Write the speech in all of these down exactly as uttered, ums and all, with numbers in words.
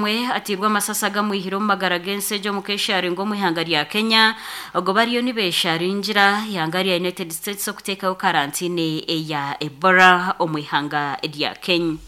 Omwe atirwe amasasi agamwihire omu magara g'ensi egyo omu kesharingo omu ihanga rya Kenya. Ogo bariyo nibesharingira ihanga rya United States okuteekaho karantine eya Ebola omu ihanga rya Kenya.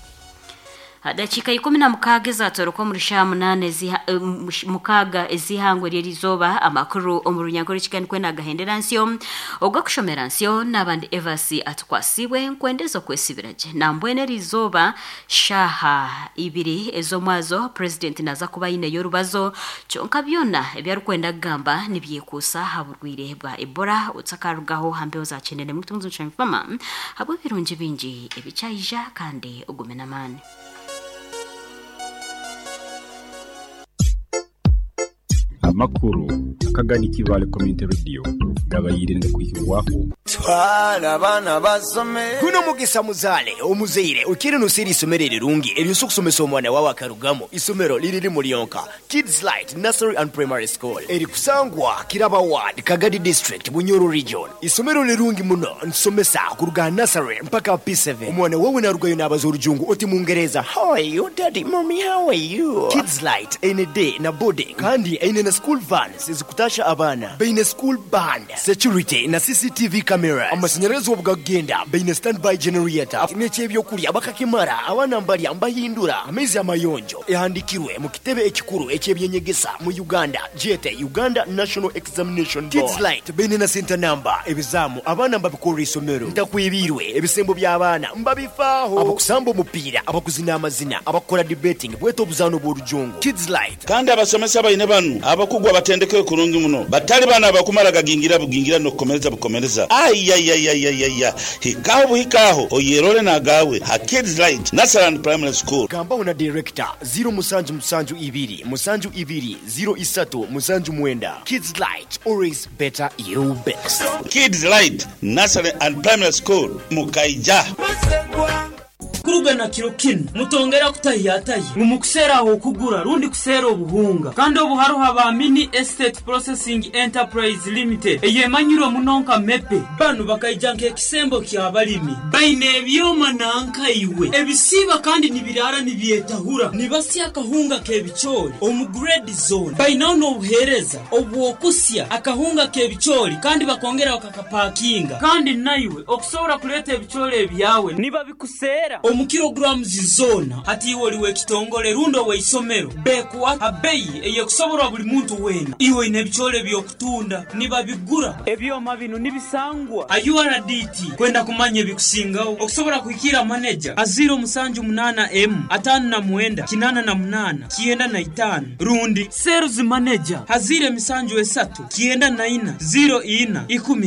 Dakiika ikumi na mukaaga ezatoroka omuri shaaha munaana eziha- eh, mush- mukaaga ez'ihangwe ry'erizooba. Amakuru omu runyankore kiganikwe nagahendera nsyo ogwakushomera nsyo n'abandi Evasi atukwasibwe nkwendeza okwesibira gye. Nambwenu erizooba shaaha ibiri ez'omwazo purezidenti naza kuba aineyo orubazo, kyonka byona ebi arikwenda kugamba nibyekuusa aha burwire bwa Ebola otakarugaho hambeho za kinene mutunzi nshemfama habw'ebirungi bingi ebikyaija kandi ogume n'amaani. Amakuru akagani Kibale Community Radio gabayire kuhibwaho. Twala abaana basome. Guno mugisa muzaale omuzaire okire nosera isomero erirungi eryosa okusomesa omwana wawe akarugamu. Isomero liririmu lyonka, Kids Light Nursery and Primary School, erikusangwa Kiraba Ward, Kagadi District, Bunyoro Region. Isomero lirungi muno, nsomesa kuruga nursery mpaka P seven. Omwana wawe narugayo nabaza orujungu oti mungereza, how are you daddy, mommy, how are you. Kids Light eine day na boarding kandi eine na school vans ezikutasha abaana, baine school band, security na C C T V cameras. Amashanyarazi obugagenda baine standby generator, n'ekyebyokurya bakakimara, abaana mbarya mbahindura amaizi amayonjo. Ehandikirwe mu kitebe ekikuru ekyebyenyegesa mu Uganda, jete Uganda National Examination Board. Kids Light baine na center number, ebizamu abaana mbabikorera isomero, ntakwibirwe ebisembo by'abaana mbabifaaho, abakusamba omupiira, abakuzina amazina, abakukora debating bweta obuzaano bw'orujungu. Kids Light. Kandi abasomesa baine banu abakugwa batendeke kurungi muno, batali bana abakumara gagingira bugingira n'okukomereza bukomereza. Ayayayayaya, hikaho buhikaho oyerole nagawe ha Kids Light Nursery and Primary School. Gambaho na director zero musanju musanju ibiri musanju ibiri zero isatu musanju mwenda. Kids Light, always better you best. Kids Light Nursery and Primary School mukaija. Kuruga na kiro kinu mutongera kutahiyatahi ngu mukuseera aho okugura rundi kuseera obuhunga, kandi obu hariho aba Mini Estate Processing Enterprise Limited eyemanyirwe muno nka Mepe. Banu bakaija nk'ekisembo ky'abalimi, baine ebyoma nankaiwe ebisiiba kandi nibiraara nibyetahura, nibasya akahunga k'ebicoori omu grade zone. Bainaho n'obuheereza obw'okusya akahunga k'ebicoori kandi bakongera bakakapakinga, kandi naiwe okusobora kuleeta ebicoori ebyawe nibabikuseera omu kilograms zona. Hati iwe oli w'ekitongole rundi ow'eisomero, bekuwa abeyi eyekusoborwa buli muntu weena. Iwe oine ebicoori eby'okutunda nibabigura. Ebyoma binu nibisangwa a U R D T. Kwenda kumanya ebikusingaho okusobora kuhikira manager a zero musanju munana M atano na mwenda kinana na munana kienda na itano, rundi sales manager hazire misanju esatu kienda na ina zero ina ikumi.